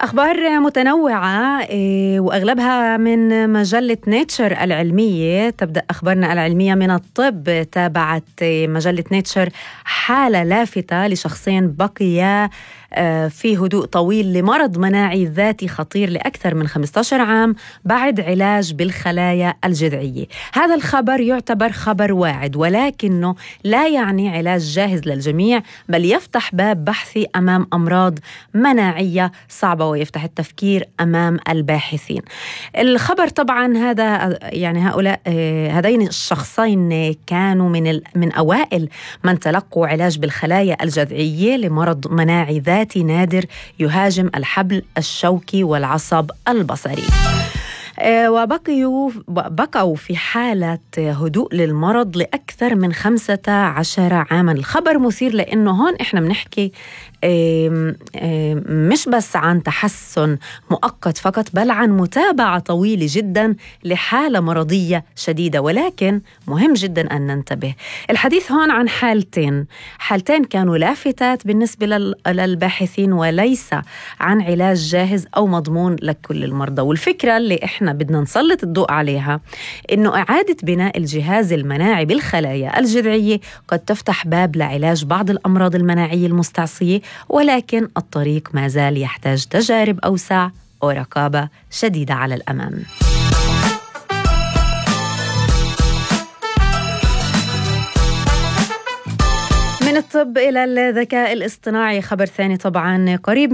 أخبار متنوعة وأغلبها من مجلة نيتشر العلمية. تبدأ أخبارنا العلمية من الطب. تابعت مجلة نيتشر حالة لافتة لشخصين بقيا في هدوء طويل لمرض مناعي ذاتي خطير لأكثر من 15 عام بعد علاج بالخلايا الجذعية. هذا الخبر يعتبر خبر واعد، ولكنه لا يعني علاج جاهز للجميع، بل يفتح باب بحثي أمام أمراض مناعية صعبة ويفتح التفكير أمام الباحثين. الخبر طبعا هذا يعني هذين الشخصين كانوا من أوائل من تلقوا علاج بالخلايا الجذعية لمرض مناعي ذاتي نادر يهاجم الحبل الشوكي والعصب البصري. وبقوا في حالة هدوء للمرض لأكثر من 15 عاما. الخبر مثير لأنه هون إحنا بنحكي مش بس عن تحسن مؤقت فقط، بل عن متابعة طويلة جدا لحالة مرضية شديدة. ولكن مهم جدا أن ننتبه، الحديث هون عن حالتين كانوا لافتات بالنسبة للباحثين، وليس عن علاج جاهز أو مضمون لكل المرضى. والفكرة اللي إحنا بدنا نسلط الضوء عليها إنه إعادة بناء الجهاز المناعي بالخلايا الجذعية قد تفتح باب لعلاج بعض الأمراض المناعية المستعصية، ولكن الطريق ما زال يحتاج تجارب أوسع ورقابة شديدة على الأمام. من الطب إلى الذكاء الاصطناعي، خبر ثاني طبعا قريب